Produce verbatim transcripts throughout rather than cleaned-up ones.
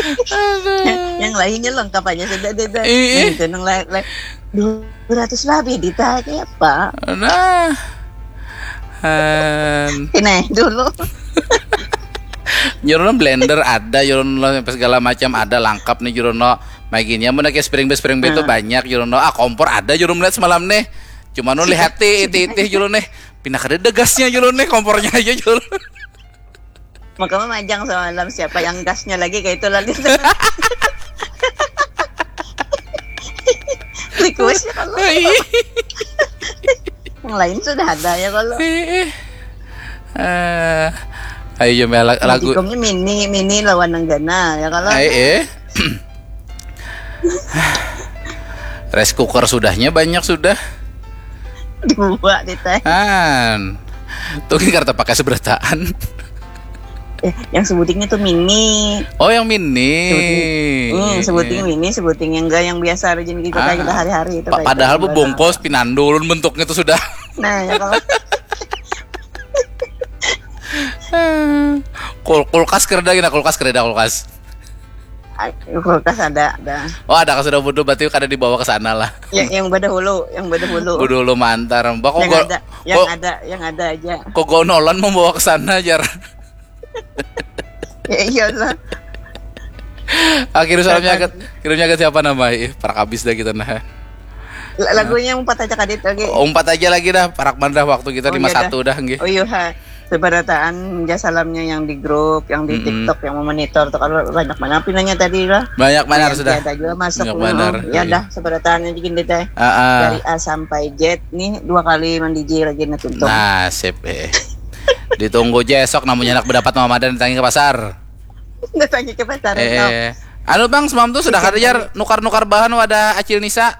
Aduh. Yang lainnya lengkap aja sudah, Dita. Ih. Nah, itu nang lain, lain. Dua ratus lebih, Dita, kayak apa? Nah. Han. Ini dulu. Jurono blender ada, jurono apa segala macam ada, lengkap nih jurono. Maginya mun kayak spring bed, spring bed itu nah, banyak jurono. Ah, kompor ada jurono melihat semalam nih. Cuma nu lihat ti, ti, ti jurono nih. Pindah kada ada gasnya jurono nih, kompornya aja jurono. Maka memajang semalam siapa yang gasnya lagi kayak itu lalu. Request ya kalau. Yang lain sudah ada ya kalau. Ih, ih. Eh, ayo, Jom, ya, la-, lagu. Jikongnya mini, mini lawan nenggana ya kalau. Ai, eh. Rice cooker sudahnya banyak sudah. Dua di teh. Han. Tuh, ini kartu pakai seberataan. Eh, yang sebutingnya tuh mini. Oh, yang mini. Sebuting, hmm, sebuting mini, sebuting yang enggak, yang biasa rajin kita, ah, kita hari-hari itu. Pa-, kayak padahal itu, bungkus pinandulun bentuknya tuh sudah. Nah, ya kalau. Kul-, kulkas kereda gina, kulkas kereda, kulkas. Ay, kulkas ada, ada. Oh, ada, sudah bodoh, berarti kada dibawa ke sana lah. Ya, yang badahulu, yang badahulu. Badahulu mantar. Mbak, yang ada, yang ada, yang ada aja. Kok gonolan membawa ke sana, jar. Ya, iya lah. Akhirnya salamnya ke, kirimnya ke siapa nama? Ih, parak habis dah kita nah. Lagunya umpat aja kadit lagi. Oh, umpat aja lagi dah, parak mana dah waktu kita. Oh, lima satu dah, nggih. Oh, iya, ha. Seberataan ja salamnya yang di grup, yang di TikTok, yang memonitor tuh, kalau banyak mana pinanya tadi lah. Banyak mana sudah. Ada juga masuk. Banyak mana. Ya dah, seberataan aja gini deh. Dari A sampai Z nih dua kali mandiji lagi nih tutup. Nasib, eh. Ditunggu aja esok namanya anak berdapat Mama dan ditangi ke pasar. Ditangi ke pasar, eh. Anu, Bang, semalam tuh sudah kada, jar, nukar-nukar bahan wadah Acil Nisa?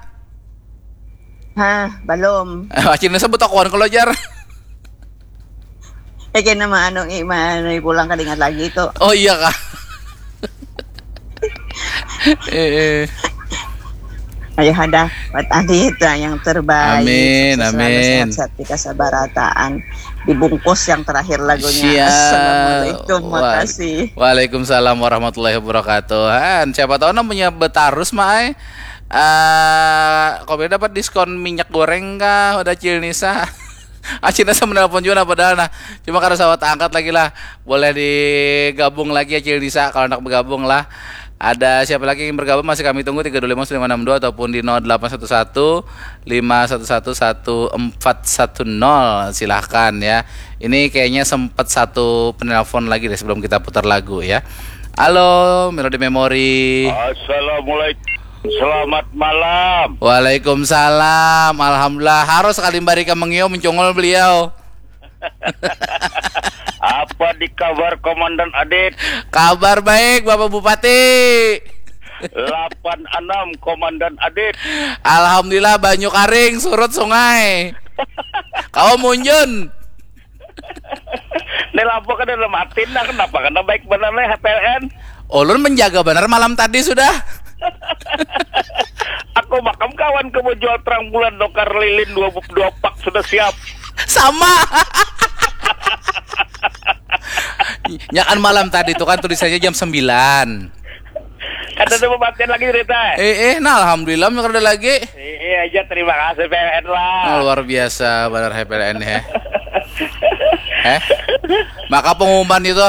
Hah, belum. Acil Nisa betakuan kalau, jar. Eh, kena ma anu, i, ma anu, pulang kada ingat lagi itu. Oh, iya kah? Eh, eh. Ayo ada buat Adit lah yang terbaik. Amin, amin. Sehat-sehat kita seberataan. Dibungkus yang terakhir lagunya. Siap. Assalamualaikum, makasih. Waalaikumsalam warahmatullahi wabarakatuh. Han, siapa tahu namanya betarus, Mai. Eh, kau dapat diskon minyak goreng kah? Udah Acil Nisa. Acil Nisa menelpon juga nah, padahal nah. Cuma karena sawat angkat lagi lah. Boleh digabung lagi Acil Nisa kalau nak bergabung lah. Ada siapa lagi yang bergabung, masih kami tunggu tiga dua lima sembilan enam dua ataupun di nol delapan satu satu lima satu satu satu empat satu nol. Silahkan ya. Ini kayaknya sempat satu penelpon lagi deh sebelum kita putar lagu ya. Halo, Melody Memory. Assalamualaikum. Selamat malam. Waalaikumsalam. Alhamdulillah. Harus sekali Mbak Rika mengiau mencongol beliau. Apa di kabar Komandan Adit? Kabar baik, Bapak Bupati. Delapan enam Komandan Adit. Alhamdulillah, banyu karing, surut sungai. Kau munjun. Ini lampu kada ada mati nah, kenapa kada baik benar nih H P L N? Ulun menjaga benar malam tadi sudah. Aku makam kawan ke mau jual terang bulan dokar lilin dua, dua pak sudah siap. Sama. Ya kan malam tadi itu kan tulisannya jam sembilan. Kada ada pematian lagi cerita. Eh, eh, nah alhamdulillah kada ada lagi. Eh, eh aja terima kasih P L N lah. Oh, luar biasa benar P L N ya. Eh? Maka pengumuman itu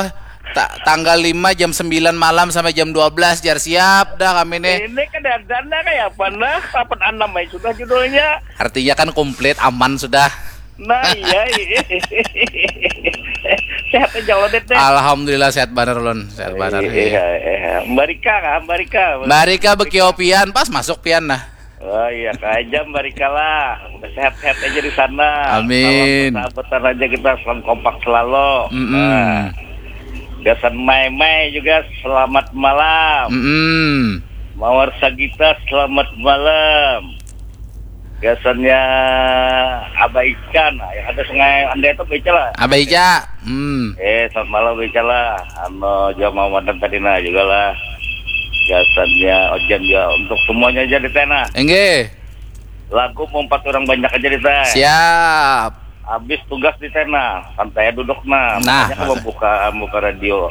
ta-, tanggal lima jam sembilan malam sampai jam dua belas jar siap dah kami nih. Ini kada ada nah kayak apa nah? Papat enam aja sudah judulnya. Artinya kan komplit aman sudah. Nah, iya, iya. Sehat aja lo, Det, deh. Alhamdulillah sehat banar, Lon. Sehat banar. Iya, iya. Mbarika kah? Mbarika. Mbarika bekio pian, pas masuk pian nah. Oh iya, kah aja Mbarika lah. Sehat-sehat aja di sana. Amin. Salam persahabatan aja kita, salam kompak selalu. Mm-mm. Nah. Gasan Mai Mai juga selamat malam. Mm-mm. Mawar Sagita selamat malam. Gasannya Abah Ica, nah, yang ada Sungai Andai itu Abah Ica lah. Abah Ica. Hmm. Eh, selamat malam Abah Ica lah. Anu, juga Mama Madan tadi nah juga lah. Gasannya Ojan juga untuk semuanya aja di tena. Enggih. Lagu mau empat orang banyak aja di teh. Siap. Habis tugas di tena, santai duduk nah. Nah, makanya aku membuka, membuka radio.